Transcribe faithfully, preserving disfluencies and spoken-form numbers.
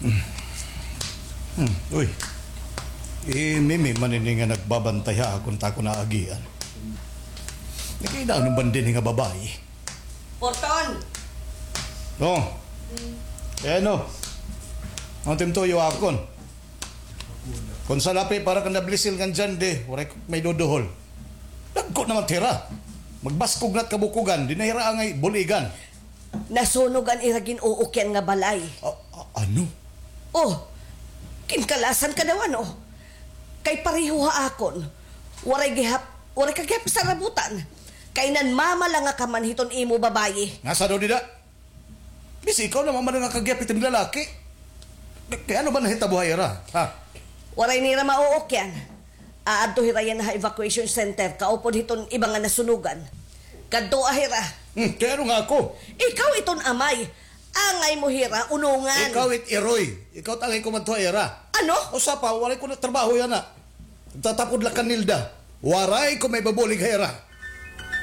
Hmm, uy. Eh, Mimi man ini nga nagbabantay ha akon ta ako naagian. Nakita ano man din nga babayi? Porton! Oh. Eh, ano? Ang timtuyo akon. Kung salapi para kan nablisil ngan dyan, di, waray ko may duduhol. Dagko naman tira. Magbaskog na't kabukugan, di na hira angay buligan. Nasunog an ira gin-uukyan nga balay. A-, a-, ano? Oh, kinkalasan ka daw, ano? Kay pareho ha akon. Waray gihap, waray ka gihap sarabutan. Kay nanmamala nga ka man hiton imo babayi. Ngasa daw dida? Bis ikaw naman man nga kagyapit hin lalaki. Kay ano ba nahitabo ha ira? Ha? Waray nira mauukyan. Aadto hira yana ha evacuation center, kaupod hiton iba nga nasunugan. Kadto hira. Hmm, kay ano nga ako? Ikaw iton amay. Angay mo hira, unungan. Ikaw it iroy. Ikaw tangay kumadto ha ira. Ano? Usa pa, waray ko na trabaho yana. Tatapod la kan Nilda. Waray ko may babulig ha ira.